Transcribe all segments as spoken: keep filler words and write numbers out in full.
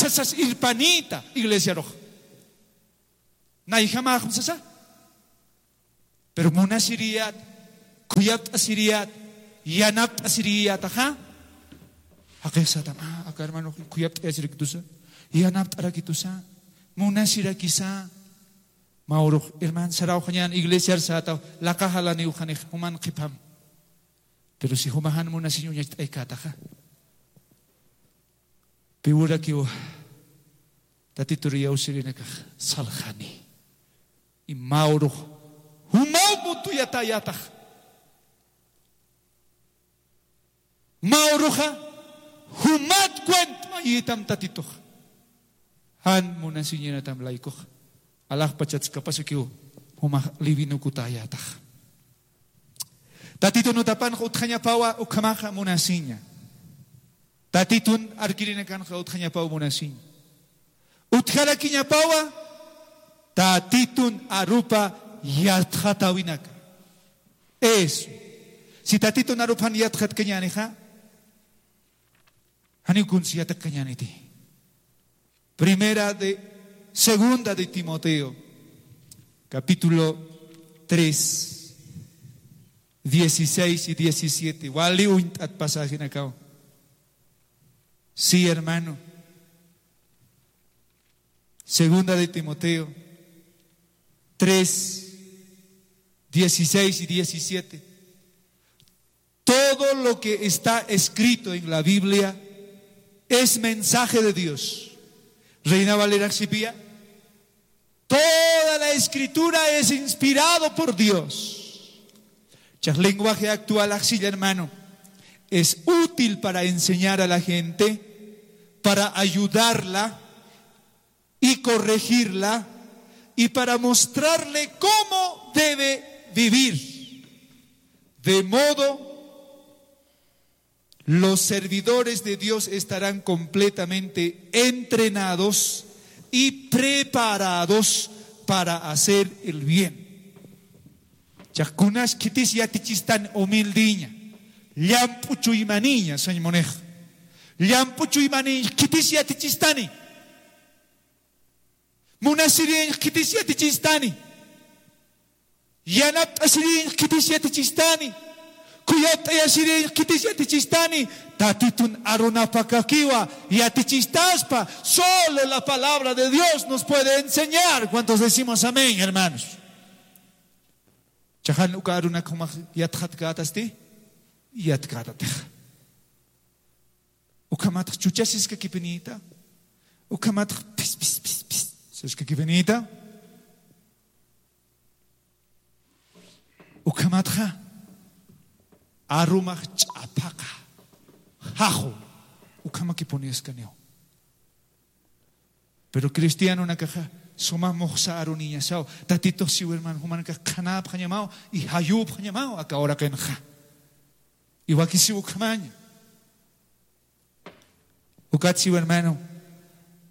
sasas irpanïta iglesiarux. Nayjamaxm sasa. Pero munasiriyät, khuyapt'asiriyät, yanapt'asiriyätaxa. Jaqix satam, ah, aka hermano khuyapt'ayasirakitusa, yanapt'arakitusa, munasirakisa. Mä urux hermano sarawxañän iglesiar sätaw, laqa jalaniw, janix juman qhipam. Pero si jumax jan munasiñ uñacht'aykätaxa, pï urakiw Tatitur iyawsirinakax salxani. Y mä urux jumaw mutuyatäyätax. Mä uruxa jumat cuentmayitam Tatituxa. Jan munasiñanatam laykuxa. Alaxpachats kapasukiw jumax livinukutayatax. Tatitun utapanx utjañapawa ukhamaxa munasiña. Tatitun arkirinakanxa utjañapaw munasiña. Utjarakiñapawa Tatitun arupa yatxatawinaka. Eso. Si Tatitun arupan yatxatkañänixa, janiw kuns yatxatkañäniti. Primera de, segunda de Timoteo, capítulo tres, dieciséis y diecisiete. Wali uñt'at pasajenakaw. Sí, hermano. Segunda de Timoteo tres, dieciséis y diecisiete. Todo lo que está escrito en la Biblia es mensaje de Dios. Reina Valera sipïya. Toda la escritura es inspirado por Dios. Chaq lenguaje actual axilla, hermano. Es útil para enseñar a la gente, para ayudarla y corregirla y para mostrarle cómo debe vivir. De modo, los servidores de Dios estarán completamente entrenados y preparados para hacer el bien. Chaq kunas khitis yatichistani humildiña, llamp'u chuymaniña, sañ munixa. Llamp'u chuymaniña khitis yatichistani. Munasiriñ khitis yatichistani. Yanapt'asiriñ khitis yatichistani. Khuyapt'ayasiriñ khitis yatichistani. Tatitun arunapakakiwa yatichistaspa. Solo la palabra de Dios nos puede enseñar. ¿Cuántos decimos amén, hermanos? Chaqan uka arunak jumax yatxatkätasti, yatkätatix. Ukhamatx chuchasiskakipanïta. Ukhamatx pis, pis, pis, pis saskakipanïta. Ukhamatxa arumax ch'aphaqa. Jaxu. Ukhamakipuniskaniw. Pero cristianonakaxa suma muxsa aruniñasaw. Tatitux siw, hermano, jumanakax qhanäpxañamaw y jayüpxañamaw aka uraqinxa. Y wakisiw ukhamaña. Ukat siw, hermano,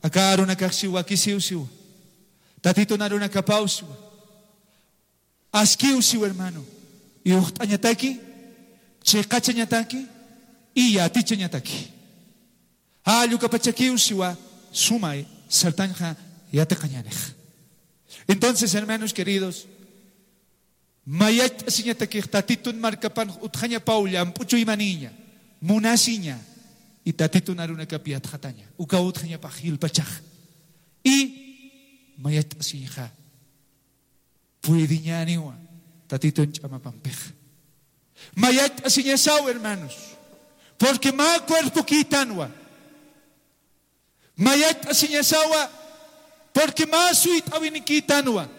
aka arunakax siw wakisiw siw. Tatitun arunakapaw siw. Askiw siw, hermano. Iwxt'añataki, chiqachañataki, y yatichañataki. Jall ukapachakiw siwa sumay sartañxa yatiqañänix. Entonces, hermanos queridos, mayacht'asiñatakix Tatitun markapan utjañapaw llamp'u chuymaniña, munasiña, y Tatitun arunakap yatxataña. Ukaw utjañapax jilpachax. Y mayacht'asiñxa puediñäniwa Tatitun ch'amapampixa. Mayacht'asiñasaw, hermanos, porque mä cuerpokïtanwa. Mayacht'asiñasawa, porque mä suyt'äwinikïtanwa.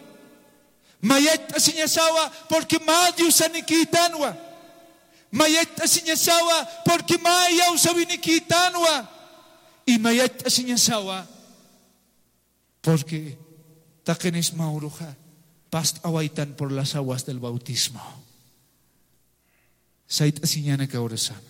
Mayacht'asiñasawa, porque mä diosanikïtanwa. Mayacht'asiñasawa, porque mä iyawsäwinikïtanwa. Y mayacht'asiñasawa, porque taqinis mä uruxa past'awaytan por las aguas del bautismo. Sayt'asiñäni aka urasana.